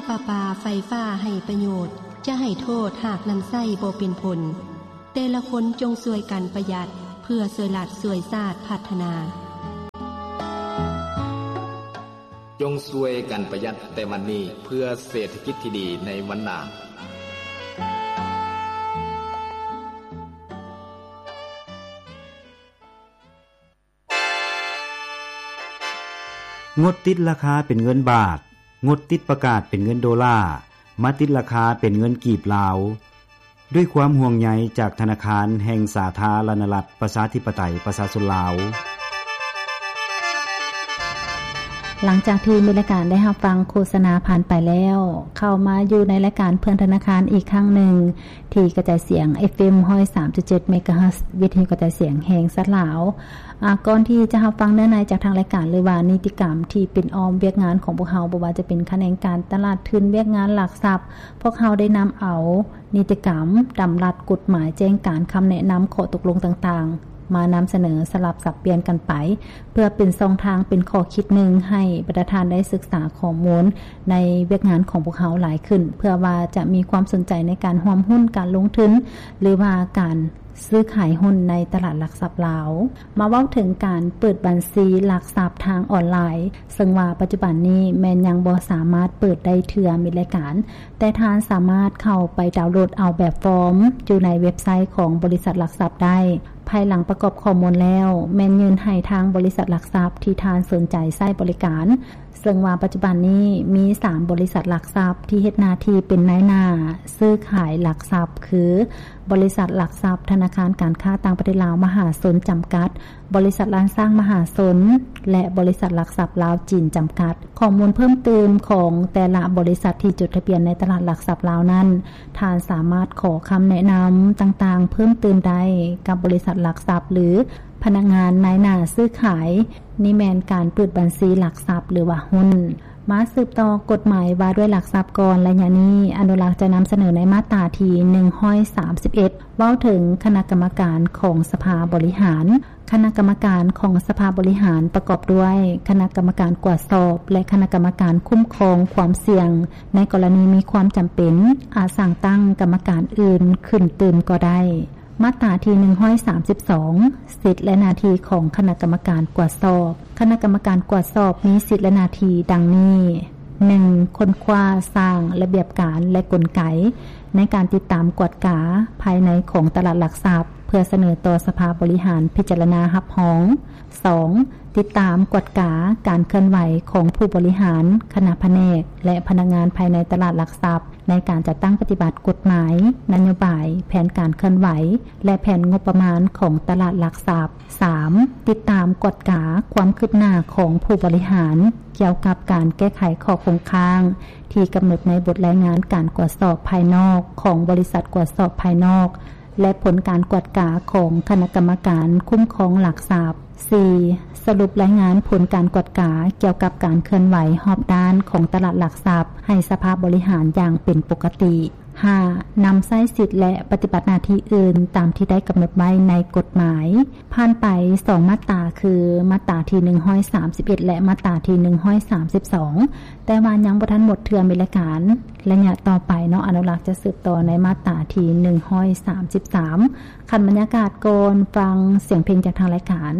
ປະປາໄຟຟ້າໃຫ້ປະໂຫຍດ, ຈະໃຫ້ໂທດຫາກນຳໃຊ້ບໍ່ເປັນຜົນ. ແຕ່ລະຄົນຈົ່ງຊ່ວຍກັນປະຢັດ ເພື່ອຊ່ວຍລັດຊ່ວຍຊາດພັດທະນາ. ຈົ່ງຊ່ວຍກັນປະຢັດແຕ່ວັນນີ້ ເພື່ອເສດຖະກິດທີ່ດີໃນວັນໜ້າ. ງົດຕິດລາຄາເປັນເງິນບາດ, ງົດຕິດປະກາດເປັນເງິນໂດລາ, ມາຕິດລາຄາເປັນເງິນກີບລາວ. ດ້ວຍຄວາມຫ່ວງໃຍຈາກທະນາຄານແຫ່ງສາທາລະນະລັດ ປະຊາທິປະໄຕ ປະຊາຊົນລາວ. ຫຼັງຈາກທີ່ມີລາຍການໄດ້ຮັບຟັງໂຄສະນາຜ່ານໄປແລ້ວ, ເຂົ້າມາຢູ່ໃນລາຍການເພື່ອນທະນາຄານອີກຄັ້ງໜຶ່ງ ທີ່ກະຈາຍສຽງ ເອັຟເອັມ ຮ້ອຍສາມຈຸດເຈັດ ເມກາເຮີດ ວິທະຍຸກະຈາຍສຽງແຫ່ງຊາດລາວ. ອາ, ກ່ອນທີ່ຈະຮັບຟັງເນື້ອໃນຈາກທາງລາຍການ ຫຼືວ່ານິຕິກຳທີ່ເປັນອ້ອມວຽກງານຂອງພວກເຮົາ, ບໍ່ວ່າຈະເປັນຂະແໜງການຕະຫຼາດທຶນ, ວຽກງານຫຼັກຊັບ, ພວກເຮົາໄດ້ນຳເອົານິຕິກຳ, ດຳລັດ, ກົດໝາຍ, ແຈ້ງການ, ຄຳແນະນຳ, ຂໍ້ຕົກລົງຕ່າງໆ ມານຳສະເໜີສະຫຼັບສັບປ່ຽນກັນໄປ ເພື່ອເປັນຊ່ອງທາງ, ເປັນຂໍ້ຄິດໜຶ່ງໃຫ້ບັນດາທ່ານໄດ້ສຶກສາຂໍ້ມູນໃນວຽກງານຂອງພວກເຮົາຫຼາຍຂຶ້ນ, ເພື່ອວ່າຈະມີຄວາມສົນໃຈໃນການຮ່ວມຮຸ້ນການລົງທຶນ ຫຼືວ່າການຊື້ຂາຍຮຸ້ນໃນຕະຫຼາດຫຼັກຊັບລາວ. ມາເວົ້າເຖິງການເປີດບັນຊີຫຼັກຊັບທາງອອນລາຍ, ເຊິ່ງວ່າປັດຈຸບັນນີ້ແມ່ນຍັງບໍ່ສາມາດເປີດໄດ້ເທື່ອ ມີລາຍການ, ແຕ່ທ່ານສາມາດເຂົ້າໄປດາວໂຫຼດເອົາແບບຟອມຢູ່ໃນເວັບໄຊຂອງບໍລິສັດຫຼັກຊັບໄດ້. ພາຍຫຼັງປະກອບຂໍ້ມູນແລ້ວ, ແມ່ນຍື່ນໃຫ້ທາງບໍລິສັດຫຼັກຊັບທີ່ທ່ານສົນໃຈໃຊ້ບໍລິການ, ເຊິ່ງວ່າປັດຈຸບັນນີ້ມີສາມບໍລິສັດຫຼັກຊັບທີ່ເຮັດໜ້າທີ່ເປັນນາຍໜ້າຊື້ຂາຍຫຼັກຊັບ ຄື ບໍລິສັດຫຼັກຊັບທະນາຄານການຄ້າຕ່າງປະເທດລາວມະຫາຊົນຈຳກັດ, ບໍລິສັດລ້ານຊ້າງມະຫາຊົນ ແລະ ບໍລິສັດຫຼັກຊັບລາວຈີນຈຳກັດ. ຂໍ້ມູນເພີ່ມຕື່ມຂອງແຕ່ລະບໍລິສັດທີ່ຈົດທະບຽນໃນຕະຫຼາດຫຼັກຊັບລາວນັ້ນ, ທ່ານສາມາດຂໍຄຳແນະນຳຕ່າງໆເພີ່ມຕື່ມໄດ້ກັບບໍລິສັດຫຼັກຊັບ ຫຼື ພະນັກງານນາຍໜ້າຊື້ຂາຍ, ນີ້ແມ່ນການເປີດບັນຊີຫຼັກຊັບ ຫຼືວ່າຮຸ້ນ. ມາສືບຕໍ່ກົດໝາຍວ່າດ້ວຍຫຼັກຊັບກ່ອນ. ໄລຍະນີ້ອະນຸລັກຈະນຳສະເໜີໃນມາດຕາທີໜຶ່ງຮ້ອຍສາມສິບເອັດ ເວົ້າເຖິງຄະນະກຳມະການຂອງສະພາບໍລິຫານ. ຄະນະກຳມະການຂອງສະພາບໍລິຫານປະກອບດ້ວຍຄະນະກຳມະການກວດສອບ ແລະ ຄະນະກຳມະການຄຸ້ມຄອງຄວາມສ່ຽງໃນກໍລະນີມີຄວາມຈຳເປັນ, ອາດສ້າງຕັ້ງກຳມະການອື່ນຂຶ້ນຕື່ມກໍໄດ້. ມາດຕາທີໜຶ່ງຮ້ອຍສາມສິບສອງ ສິດ ແລະ ໜ້າທີ່ຂອງຄະນະກຳມະການກວດສອບ. ຄະນະກຳມະການກວດສອບມີສິດ ແລະ ໜ້າທີ່ດັ່ງນີ້: ໜຶ່ງ ຄົ້ນຄວ້າ, ສ້າງລະບຽບການ ແລະ ກົນໄກໃນການຕິດຕາມກວດກາພາຍໃນຂອງຕະຫຼາດຫຼັກຊັບ ເພື່ອສະເໜີຕໍ່ສະພາບໍລິຫານພິຈາລະນາຮັບຮອງ. ສອງ ຕິດຕາມກວດກາການເຄື່ອນໄຫວຂອງຜູ້ບໍລິຫານ, ຄະນະພະແນກ ແລະ ພະນັກງານພາຍໃນຕະຫຼາດຫຼັກຊັບ ໃນການຈັດຕັ້ງປະຕິບັດກົດໝາຍ, ນະໂຍບາຍ, ແຜນການເຄື່ອນໄຫວ ແລະ ແຜນງົບປະມານຂອງຕະຫຼາດຫຼັກຊັບ. ສາມ ຕິດຕາມກວດກາຄວາມຄືບໜ້າຂອງຜູ້ບໍລິຫານກ່ຽວກັບການແກ້ໄຂຂໍ້ຄົງຄ້າງທີ່ກຳນົດໃນບົດລາຍງານການກວດສອບພາຍນອກຂອງບໍລິສັດກວດສອບພາຍນອກ ແລະ ຜົນການກວດກາຂອງຄະນະກຳມະການຄຸ້ມຄອງຫຼັກຊັບ. ສີ່ ສະຫຼຸບລາຍງານຜົນການກວດກາກ່ຽວກັບການເຄື່ອນໄຫວຮອບດ້ານຂອງຕະຫຼາດຫຼັກຊັບໃຫ້ສະພາບໍລິຫານຢ່າງເປັນປົກກະຕິ. ຫ້າ ນຳໃຊ້ສິດ ແລະ ປະຕິບັດໜ້າທີ່ອື່ນຕາມທີ່ໄດ້ກຳນົດໄວ້ໃນກົດໝາຍ. ຜ່ານໄປສອງມາດຕາ ຄື ມາດຕາທີໜຶ່ງຮ້ອຍສາມສິບເອັດ ແລະ ມາດຕາທີໜຶ່ງຮ້ອຍສາມສິບສອງ ແຕ່ວ່າຍັງບໍ່ທັນໝົດເທື່ອ ມີລາຍການ. ໄລຍະຕໍ່ໄປເນາະ ອະນຸລັກຈະສືບຕໍ່ໃນມາດຕາທີໜຶ່ງຮ້ອຍສາມສິບສາມ. ຂັ້ນບັນຍາກາດກ່ອນຟັງສຽງເພງຈາກທາງລາຍການ.